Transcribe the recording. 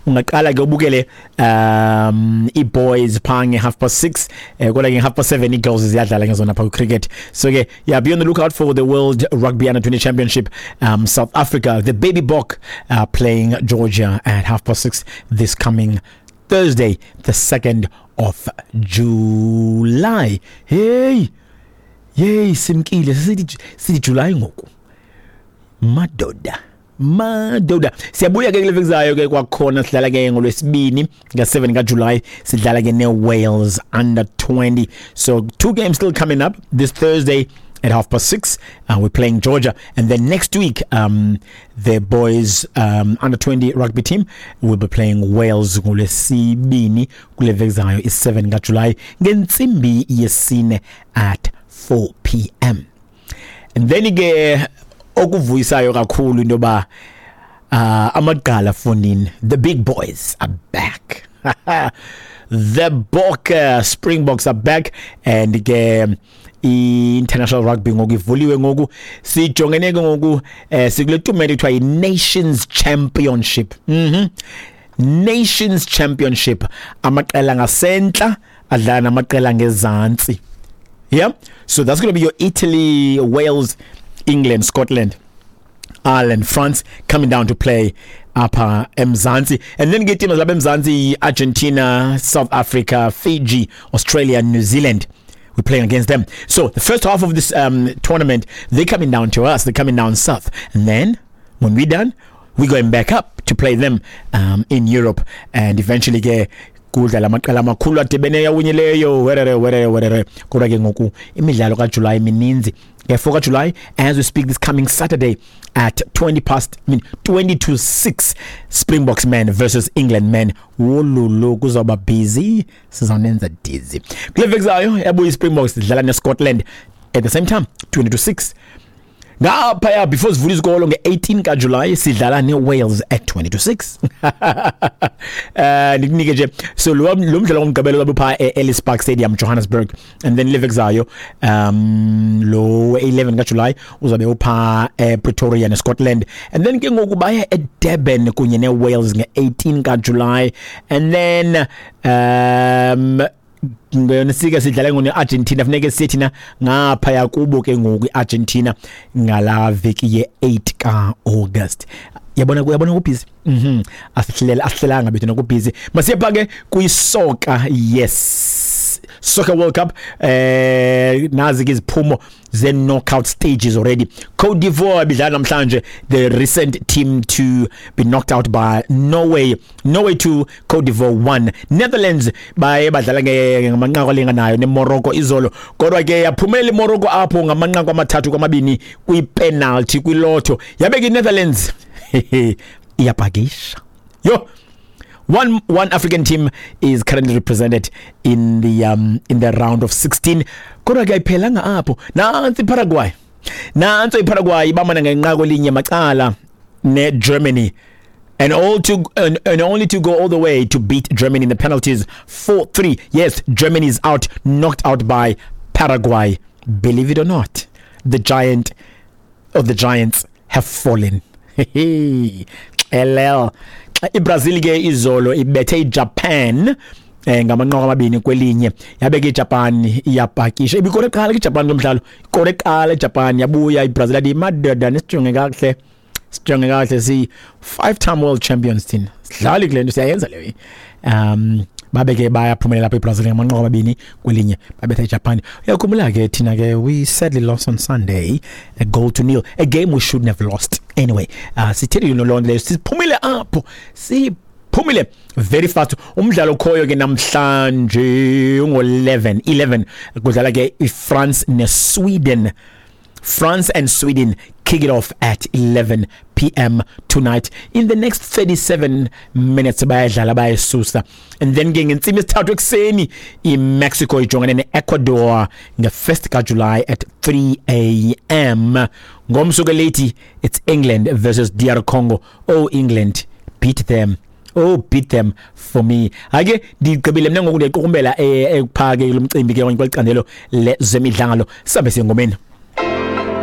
Ungaqala ke ubukele i-boys phaa nge-6:30, kodwa ke nge-7:30 i-girls ziyadlala ngezona phaa cricket. So ke, yeah, be on the lookout for the World Rugby Under 20 Championship. South Africa, the Baby Bok, playing Georgia at 6:30 this coming Thursday, the 2nd of July. Hey, yey, simkile, sithi July ngoku. Madoda, madoda, siyabuya ke kule veki zayo ke kwakhona. Sidlala ke ngolwesibini nga-7 kaJuly, sidlala ke ne-Wales under 20. So two games still coming up. This Thursday at 6:30, we're playing Georgia, and then next week the boys under 20 rugby team will be playing Wales ngolwesibini kule veki zayo, i-7 kaJuly, ngentsimbi yesine at 4 p.m. And then ke okuvuyisayo kakhulu into yoba amagqala fonini, the big boys are back. The Bok, Springboks are back, and ke i-international rugby ngoku ivuliwe. Ngoku sijongene ke ngoku, sikule tumente kuthiwa yi-Nations Championship. Nations Championship, amaqela ngasentla adlala namaqela ngezantsi. Yeah, so that's going to be your Italy, Wales, England, Scotland, Ireland, France coming down to play apha eMzansi. And then ke teams lapha eMzansi, Argentina, South Africa, Fiji, Australia, New Zealand. We're playing against them. So the first half of this tournament, they're coming down to us. They're coming down south. And then when we're done, we're going back up to play them in Europe and eventually ke kudlala amaqela amakhulu adibeneyo awinyileyo, werere werere werere. Kodwa ke ngoku imidlalo kaJuly mininzi. Nge-4 kaJuly, as we speak, this coming Saturday at 20 past, I mean 20 to 6, Springboks men versus England men. Wololo, kuzawuba busy, sizawunenza dizzy. Kule veki zayo yabuya iSpringboks idlala neScotland at the same time, 20 to 6. Ngaphaya before sivula izikolo nge-18 kaJuly, sidlala ne-Wales at 20 to 6. Ndikunike nje, so lo mdlalo ngomgqibelo wabe phaa e-Ellis Park Stadium, Johannesburg, and then leveki zayo lo 11 kaJuly uzabe uphaa ePretoria neScotland, and then ke ngoku baya eDurban kunye ne-Wales nge-18 kaJuly. And then sike sidlala ngone-Argentina, funeke siye thina ngaphaya kubo ke ngoku i-Argentina ngala veki ye-8 ka-August. Yabona, uyabona kubhizi. Asihlela, asihlelanga bethu nokubhizi. Masiye pha ke kwisoka. Yes, Soccer World Cup. Nazi ke iziphumo ze knockout stages already. Cote d'Ivoire bidlala namhlanje, the recent team to be knocked out by Norway. Norway 2, Cote d'Ivoire 1. Netherlands baye badlala ngamanqaku alinganayo neMorocco izolo, kodwa ke yaphumelela iMorocco apho ngamanqaku 3-2 kwipenalty, kwilotho. Yabe ke iNetherlands iyapakisha. Yo, one African team is currently represented in the round of 16. Kodwa ke ayiphelanga apho. Nansi iParaguay, nanso iParaguay ibamana ngenqaku elinye macala neGermany and only to go all the way to beat Germany in the penalties, 4-3. Yes, Germany is out, knocked out by Paraguay. Believe it or not, the giant of the giants have fallen. LL. IBrazil ke izolo ibethe iJapan ngamanqaku 2-1. Yabe ke iJapan iyapakisha. Ibikore qala ke iJapan lo mdlalo, ikore qala iJapan, yabuya iBrazil yathi, "Madoda, nisijonge kakuhle, sijonge kakuhle, si five time world champions thina, sidlali kule nto, siyayenza leyo." Babe ke bayaphumelela lapha iBrazil ngamanqaku 2-1, babetha iJapan. Uyakhumbula ke thina ke, we sadly lost on Sunday, a goal to nil, a game we shouldn't have lost anyway. Sithethile loo nto leyo, siphumile apho, siphumile very fast. Umdlalo okhoyo ke namhlanje ungo-11 11, kudlala ke iFrance neSweden. France and Sweden kick it off at 11 p.m. tonight. In the next 37 minutes bayadlala, bayasusa. And then ke ngentsimbi yesithathu ekuseni iMexico ijongene neEcuador nge-1st kaJuly at 3 a.m. Ngomso ke late, it's England versus DR Congo. Oh England, beat them. Oh, beat them for me. Ake ndigqibile mina ngoku, ndiyaqukumbela ekuphake lo mcimbi ke kweli candelo lezemidlalo. Sabe siyengomeni.